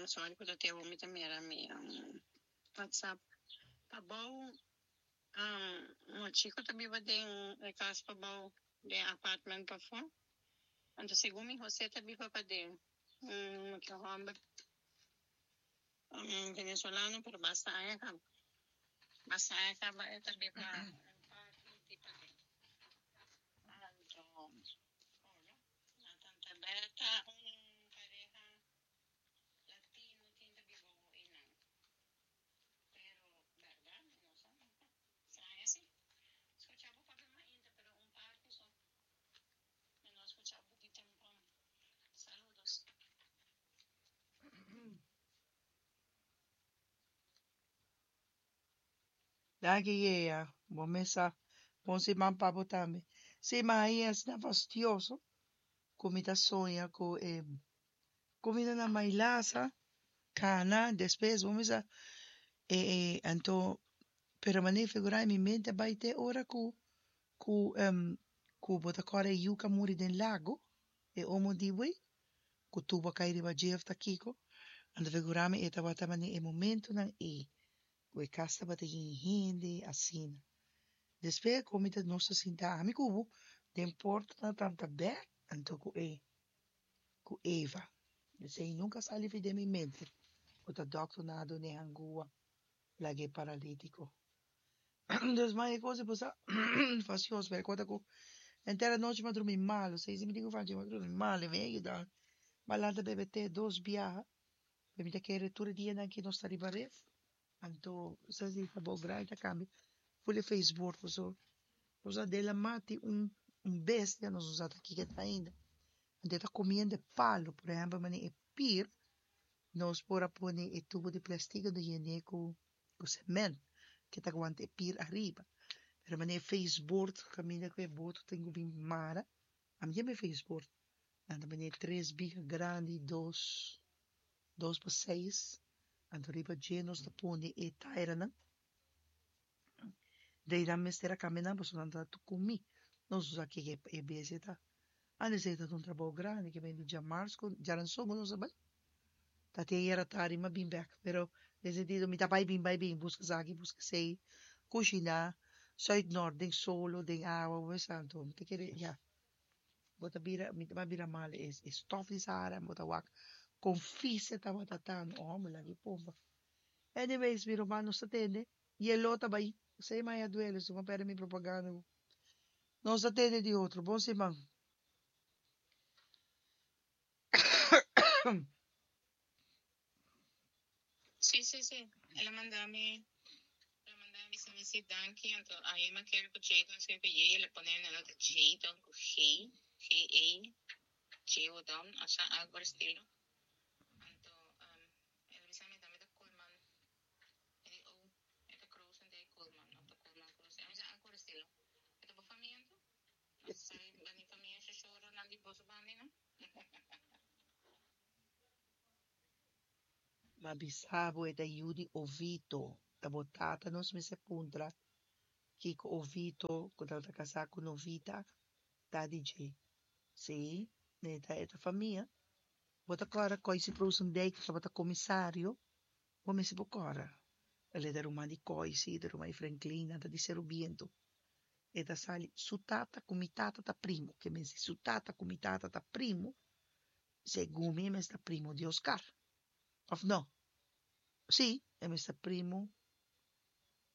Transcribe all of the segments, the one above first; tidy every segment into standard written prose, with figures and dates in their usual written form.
Sorry ku ta te awor mi ta mira mi WhatsApp. Pabou un chico ta biba den e cas pabou den apartment pafó. Anto segun mi José ta biba paden. Un otro homber venezolano pero basta aña caba. Basta aña caba e ta biba un parti di paden. Anto na Tanta Berta un pareha latino tin ta biba awo einan. Pero berdad mi no sa nunca. Straña si. Scucha bo papia mainta pero un parti so. Mi no a scucha bo di tempran. Saludos. Danki Yea, bo mes sa. Bon siman pa bo tambe. Sí, ma ai asina fastioso ku mi ta soña ku e kumida na Mailasa, kana, despues bo mes sa e e anto pero manera figurá mi mente a bai te ora ku ku ku bo ta kòrda e yu ku a muri den lago, e omo di wei ku tubo a kai riba dje òf ta kiko, anto figurá mi e tabata manera e momentunan ei ku e kas tabata yen hende asina. Despues ku mi ta nos ta sinta ami ku bo den porta na tanta bèk anto ku e ku Eva. Esei nunka a sali fi den mi mente ku ta dòkternan a dun'é hangua lag'é paralítiko. Dus mas e kos di bo sa fastioso pero e kos ta ku henter anochi mi a drumi malu seis di mi tin ku fasi mi a drumi malu i mi a yuda mi a lanta bebe te dos biaha. Pero mi ta kere tur e dianan ki nos ta riba ref, anto sa si ta bo grandi ta cambia ful e faceboord paso nos a den la mati un un bestia nos no sa ta kiko ta ainda anto e ta comiendo e palo por ehempel manera e pir nos por a pone e tubo di plastic anto yene cu cu cement ke ta aguanta e pir ariba pero manera e faceboord caminda cu e boto tin cu bin mara ami yama e faceboord Nan ta bini tres biga grandi, dos, dos pa seis. Anto riba dje nos ta pone e tairanan. Dei nan mester a kambia nan pasobra nan ta tur kumi. Nos no sa kiko e bestia ta. Antes esei ta un trabou grandi ke bini djamars ku djaranson ku nos a bai. Ta te ayera tardi mi a bin bek. Pero den sentido mi ta bai bin bai bin buska esaki buska esei, kushiná, sùit nòrt den solo, den awa, bo mester anto mi ta kere ya. Bo ta bira, mi ta bira mal e e stof di Sahara, bo ta wak kon fise tabata tan, oh mi lagi pompa. Anyways, mi ruman nos ta tende, yeló ta bai, esei maya duele, su perde mi propaganda. Nos ta tende di otro, bon siman. Sí, sí, sí. El a manda mi, el a manda mi bisa mi sí danki. Anto ahi mi a kere ku Jadon skirbi J, el a pone na nota Jadon ku G, G A, Jadon, osea algo por estilo. Anto el a bisa mi tambe ta Koolman. Mi di oh, e ta Krusendijk Koolman of ta Koolman Krusendijk, mi sa algo por estilo. E ta bo famia anto? Nos sa bani famia shoshoranan di boso bandi no? Ma bisa bo e ta yu di Ovito. Ta bo tata nos mester puntra kiko Ovito ku tabata kasá ku Novita ta di dje. Sí, e ta e ta famia. Bo ta kòrda Koisi Proosendijk tabata komisario? Bo mester por kòrda. El e ta ruman di Koisi, e ta ruman di Franklin, nan ta di Seru Bientu. E ta sali su tata ku mi tata ta primo. Ke men si su tata ku mi tata ta primo, Segun mi e mester ta primo di Oscar. Of no? Sí, e mester primo,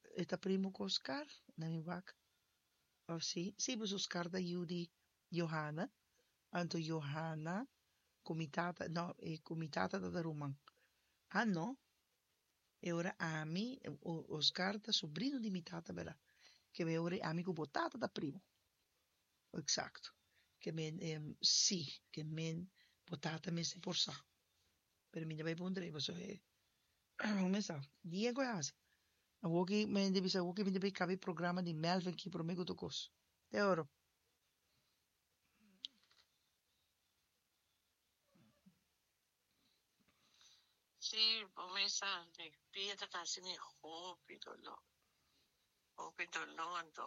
e ta primo ku Oscar? Na mi wak. Of sí? Sí, pues Oscar ta yu di Johanna. Anto Johanna ku mi tata, no, e ku mi tata ta ta ruman. Ah, no. E ora ami, Oscar ta sobrino di mi tata, berdad? Ke e ora ami ku bo tata ta primo. Exacto. Ke men si, ke men bo tata mester por sa. Pero mi ta bai puntra ei pasobra e mi sa dia ku e hasi. Awoki mi hende bisa awoki mi ta bai kaba e programa di Melvin aki prome ku tur kos. Te oro. Sí, bo mester mi pia ta hasi mi hopi doló. Hopi doló anto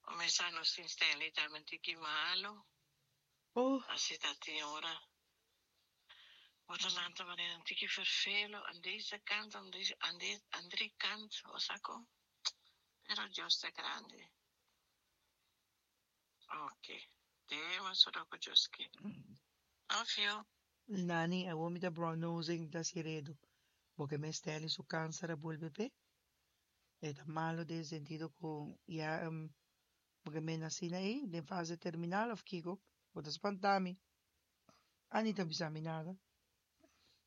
bo mester nos tin Stanley tambe un tiki malo. Oh. Asi ta tin ora. Bo ta lanta manera un tiki ferfelu aan deze kant, aan deze, aan de andere kant, bo sa kon? Pero Dios ta grandi. Ok, den solo ku Dios ke. Love you. Nani, awor mi ta brown nosing, mi ta hasi redu. Bo ke mes Stanley su kanser a bolbe p'e? E ta malo den sentido ku ya bo ke mena asina ei den fase terminal of kiko? Bo ta spanta mi. Annie ta bisa mi nada.